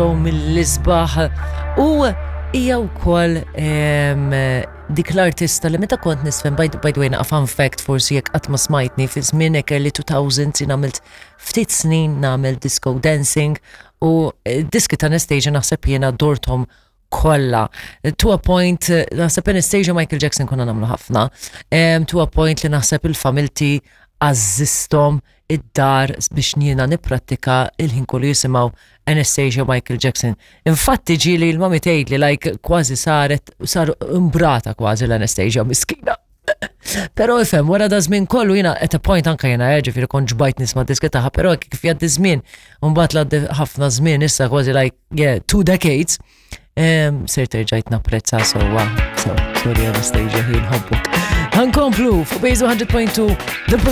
Mill-isbaħ u hija wkoll dik l-artista li meta kont nisfen by, by the way naqa' fun fact forsi jekk qatt ma smajtni fi żmien hekk early 2000 jien għamilt ftit snin nagħmel disco dancing u eh, diski ta' Anastasia naħseb jiena dorthom kollha. To a point, naħseb Anastasia Michael Jackson konna nagħmlu ħafna. To a point li naħseb il-familti għażżisthom id-dar biex jiena nipprattika il-ħin kollu jisimgħu Anastasia Michael Jackson. Infatti ġieli l-mami tgħidli like kważi saret sar imbrata kważi l-Anastasia miskina. Però ifhem, wara da żmien kollu jiena at a point anka jiena eh, ġifieri kont ġbajt nisma' diski tagħha, però kif jgħaddi żmien, mbagħad l ħafna żmien issa kważi like yeah, two decades, ser terġajt napprezza sewwa. So, sorry Anastasia, ħin ħobbok. Ħankomplu fuq Base 100.2 The Police.